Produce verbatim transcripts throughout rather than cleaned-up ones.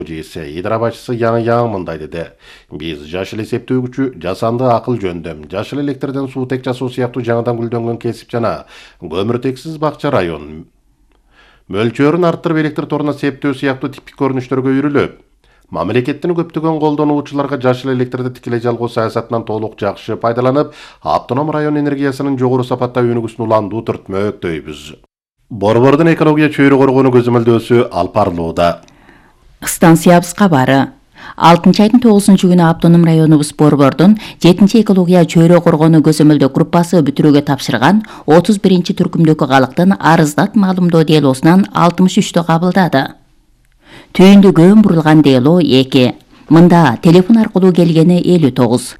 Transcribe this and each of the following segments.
жийсе идара башчысы Яң Яң мындай деди. Биз жашыл эсептөөгүчү, жасанды акыл жөндөм, жашыл электрден суутек жасоо сыяктуу жаңыдан гүлдөнгөн кесип жана көмүртексиз бакча район мөлчөрүн арттырып электр торуна септөө сыяктуу типтик көрүнүштөргө үйрүлөп, мамлекеттин көптөгөн колдонуучуларга жашыл электрди тикелей жалгоо саясатынан толук жакшы пайдаланып, автоном район энергиясынын жогору сапаттагы өнүгүүсүн уландуу түртмөктөйбүз. Борбордун экология чөйрө коргонуу көзөмөлдөөсү алып барылууда. Станциябыз кабары. алтынчы айдын тогузунчу күнү автоном районубуз Борбордун жетинчи экология чөйрө коргонуу көзөмөлдөө группасы бүтүрүүгө тапшырган отуз биринчи түркүмдөгү калктын арыздат маалымдоо делосунан алтымыш үчтө кабылдады. Түйүндү көөн бурулган дело эки. Мында телефон аркылуу келгени элүү тогуз.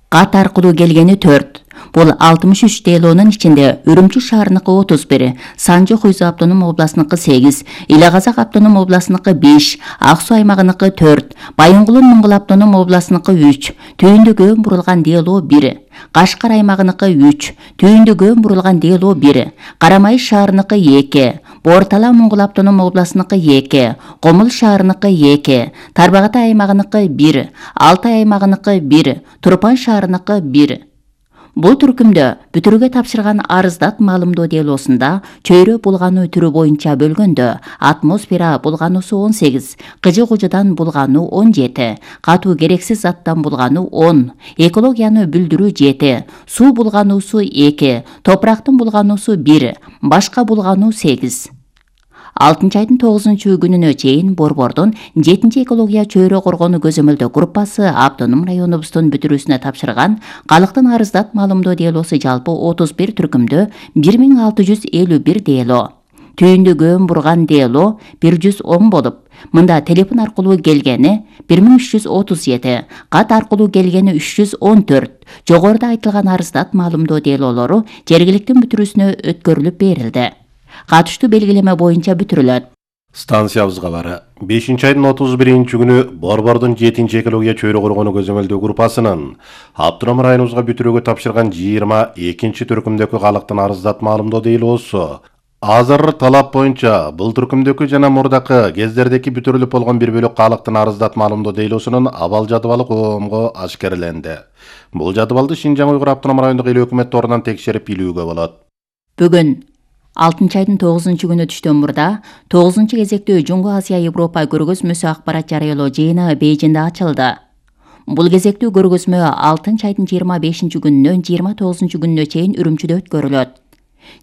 Кат аркылуу келгени төрт. Бул алтымыш үч делонун ичинде Үрүмчү шаарыныкы отуз бир, Санжы Хуйзу автоном областыныкы сегиз, Иле Казак автоном областыныкы беш, Ак Суу аймагыныкы төрт, Байынгулун Муңгул автоном областыныкы үч, Түйүндү көөн бурулган дело бир, Кашкар аймагыныкы үч, Түйүндү көөн бурулган дело бир, Карамайыш шаарыныкы эки, Бортала Муңгул автоном областыныкы эки, Комул шаарыныкы эки, Тарбагатай аймагыныкы бир, Алтай аймагыныкы бир, Турпан шаарыныкы бир. Бул түркүмдө бүтүрүүгө тапшырган арыздат маалымдоо делосунда чөйрө булгануу түрү боюнча бөлгөндө атмосфера булгануусу он сегиз, кыжы кужудан булгануу он жети, катуу керексиз заттан булгануу он, экологияны бүлдүрүү жети, суу булгануусу эки, топурактын булгануусу бир, башка булгануу сегиз. алтынчы айдын тогузунчу күнүнө чейин Борбордун жетинчи экология чөйрө коргонуу көзөмөлдөө группасы автоном районубуздун бүтүрүүсүнө тапшырган калктын арыздат маалымдоо делосу жалпы отуз бир түркүмдө бир миң алты жүз элүү бир дело. Түйүндү көөн бурган дело бир жүз он болуп, мында телефон аркылуу келгени бир миң үч жүз отуз жети, кат аркылуу келгени үч жүз он төрт. Жогоруда айтылган арыздат маалымдоо делолору жергиликтин бүтүрүүсүнө өткөрүлүп берилди. Катыштуу белгилеме боюнча бүтүрүлөт. Станциябыз кабары. бешинчи айдын отуз биринчи күнү Борбордун жетинчи экология чөйрө коргонуу көзөмөлдөө группасынын автоном районубузга бүтүрүүгө тапшырган жыйырма экинчи түркүмдөгү калктын арыздат маалымдоо делосу. Азыр талап боюнча бул түркүмдөгү жана мурдакы кездердеки бүтүрүлүп болгон бир бөлүк калктын арыздат маалымдоо делосунун абал жадыбалы коомго ашкереленди. Бул жадыбалды Шинжаң Уйгур автоном райондук эл өкмөт торунан текшерип билүүгө болот. Бүгүн алтынчы айдын тогузунчу күнү түштөн мурда тогузунчу кезектүү Жуңгу Азия Европа көргөзмөсү акпарат жарыялоо жыйыны Бейжиңде ачылды. Бул кезектүү көргөзмө алтынчы айдын жыйырма бешинчи күнүнөн жыйырма тогузунчу күнүнө чейин Үрүмчүдө өткөрүлөт.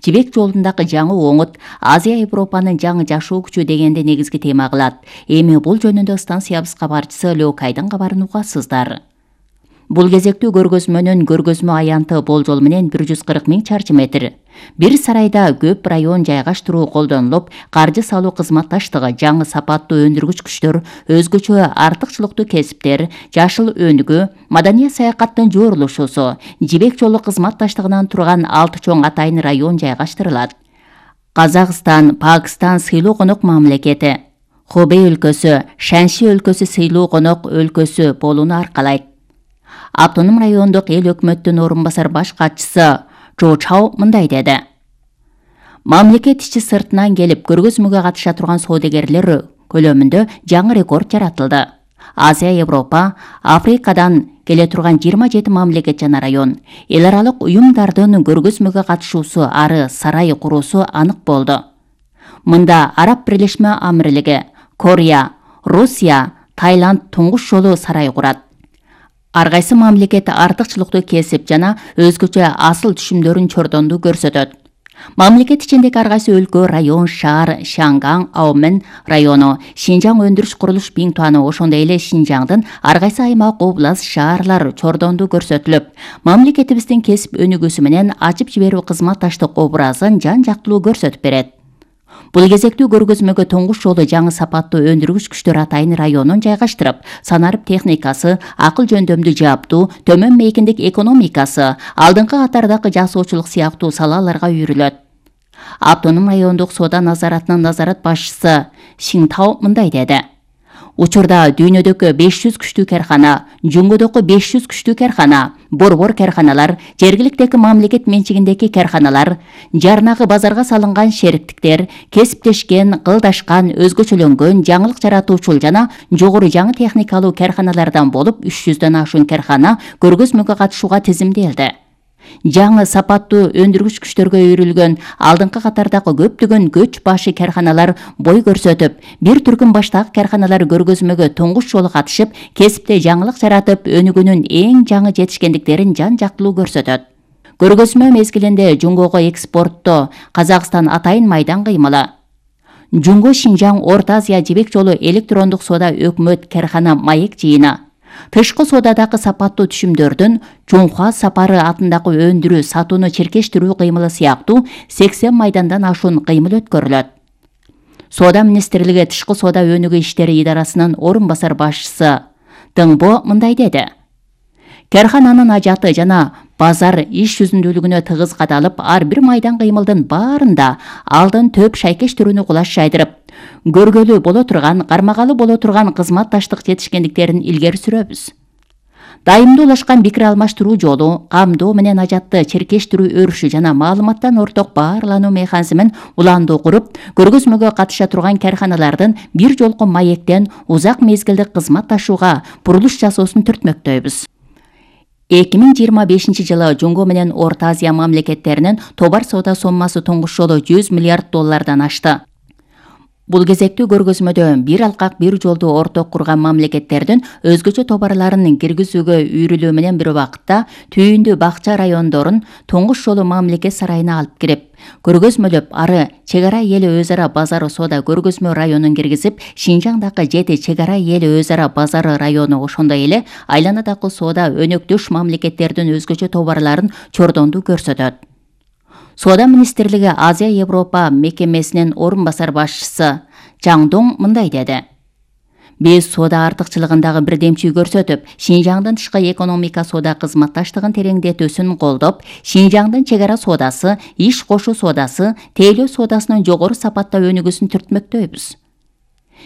Жибек жолундагы жаңы оңут Азия Европанын жаңы жашоо күчү дегенди негизги тема кылат. Эми бул жөнүндө станциябыз кабарчысы Лёкайдын кабарын угасыздар. Бул кезектүү көргөзмөнүн көргөзмө аянты болжол менен бир жүз кырк миң чарчы метр. Бир сарайда көп район жайгаштыруу колдонулуп, каржы салуу кызматташтыгы, жаңы сапаттуу өндүргүч күчтөр, өзгөчө артыкчылыктуу кесиптер, жашыл өнүгүү, маданий саякаттын жорулушусу, жибек жолу кызматташтыгынан турган алты чоң атайын район жайгаштырылат. Казакстан, Пакистан сыйлуу конок мамлекети, Хубей өлкөсү, Шанши өлкөсү сыйлуу конок өлкөсү болууну аркалайт. Автоном райондук эл өкмөттүн орун басар баш катчысы Чжо Чао мындай деди. Мамлекет ичи сыртынан келип көргөзмөгө катыша турган соодагерлер көлөмүндө жаңы рекорд жаратылды. Азия, Европа, Африкадан келе турган жыйырма жети мамлекет жана район, эл аралык уюмдардын көргөзмөгө катышуусу ары сарай куруусу анык болду. Мында Араб Бирлешме Амирлиги, Корея, Русия, Таиланд туңгуш жолу сарай курат. Ар кайсы мамлекет артыкчылыктуу кесип жана өзгөчө асыл түшүмдөрүн чордонду көрсөтөт. Мамлекет ичиндеги ар кайсы өлкө, район, шаар, Шангаң, Аомен району, Шинжаң өндүрүш курулуш Биңтуаны, ошондой эле Шинжаңдын ар кайсы аймак, област, шаарлар чордонду көрсөтүлүп, мамлекетибиздин кесип өнүгүүсү менен ачып жиберүү кызматташтык образын жан жактылуу көрсөтүп берет. Бул кезектүү көргөзмөгө туңгуш жолу жаңы сапаттуу өндүргүч күчтөр атайын районун жайгаштырып, санарып техникасы, акыл жөндөмдүү жаптуу, төмөн мейкиндик экономикасы, алдыңкы катардагы жасоочулук сыяктуу салаларга үйрүлөт. Автоном райондук соода назаратынын назарат башчысы Сиңтау мындай деди. Учурда дүйнөдөгү беш жүз күчтүү кархана, Жунгодогу беш жүз күчтүү кархана, борбор карханалар, жергиликтеги мамлекет менчигиндеги карханалар, жарнагы базарга салынган шериктиктер, кесиптешкен, кылдашкан, өзгөчөлөнгөн, жаңылык жаратуучул жана жогору жаңы техникалуу карханалардан болуп үч жүздөн ашуун кархана көргөзмөгө катышууга тизимделди. Жаңы сапаттуу өндүргүч күчтөргө үйрүлгөн алдыңкы катардагы көптөгөн көч башы карханалар бой көрсөтүп, бир түркүм баштагы карханалар көргөзмөгө туңгуч жолу катышып, кесипте жаңылык жаратып, өнүгүүнүн эң жаңы жетишкендиктерин жан-жактылуу көрсөтөт. Көргөзмө мезгилинде Жунгого экспортто Казакстан атайын майдан кыймылы. Жунго Шинжаң Орто Азия жибек жолу электрондук соода өкмөт кархана маек жыйыны. Тышкы соодадагы сапаттуу түшүмдөрдүн Чоңхуа сапары атындагы өндүрүү, сатууну черкештирүү кыймылы сыяктуу сексен майдандан ашуун кыймыл өткөрүлөт. Соода министрлиги тышкы соода өнүгүү иштери идарасынын орун басар башчысы Дыңбо мындай деди. Кархананын ажаты жана базар иш жүзүндүүлүгүнө тыгыз кадалып, ар бир майдан кыймылдын баарында алдын төп шайкештирүүнү кулаш жайдырып, көргөлүү боло турган, кармагалы боло турган кызматташтык жетишкендиктерин илгери сүрөбүз. Дайымдуу улашкан пикир алмаштыруу жолу, камдоо менен ажатты черкештирүү өрүшү жана маалыматтан орток баарлануу механизмин уландуу куруп, көргөзмөгө катыша турган карханалардын бир жолку маектен узак мезгилдик кызматташууга бурулуш жасоосун түртмөктөйбүз. эки миң жыйырма бешинчи жылы Жунго менен Орто Азия мамлекеттеринин товар соода соммасы туңгуч жолу жүз миллиард доллардан ашты. Бул кезектүү көргөзмөдө бир алкак бир жолду орток курган мамлекеттердин өзгөчө товарларын киргизүүгө үйрүлүү менен бир убакытта түйүндүү бакча райондорун туңгуч жолу мамлекет сарайына алып кирип, көргөзмөлөп, ары чек ара эл өз ара базары соода көргөзмө районун киргизип, Шинжаңдагы жети чек ара эл өз ара базары району, ошондой эле айланадагы соода өнөктөш мамлекеттердин өзгөчө товарларын чордондуу көрсөтөт. Соода министрлиги Азия Европа мекемесинин орун басар башчысы Жаңдоң мындай деди. Биз соода артыкчылыгындагы бирдемчүү көрсөтүп, Шинжаңдын тышкы экономика соода кызматташтыгын тереңдетүүсүн колдоп, Шинжаңдын чек ара соодасы, иш кошуу соодасы, тейлөө соодасынын жогору сапатта өнүгүүсүн түртмөктөйбүз.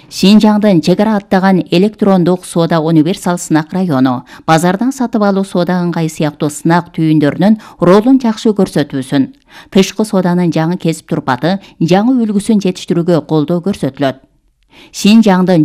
Шинжаңдын чек ара аттаган электрондук соода универсал сынак району, базардан сатып алуу соода ыңгай сыяктуу сынак түйүндөрүнүн ролун жакшы көрсөтүүсүн, тышкы сооданын жаңы кесип турпаты, жаңы үлгүсүн жетиштирүүгө колдоо көрсөтүлөт. Шинжаңдын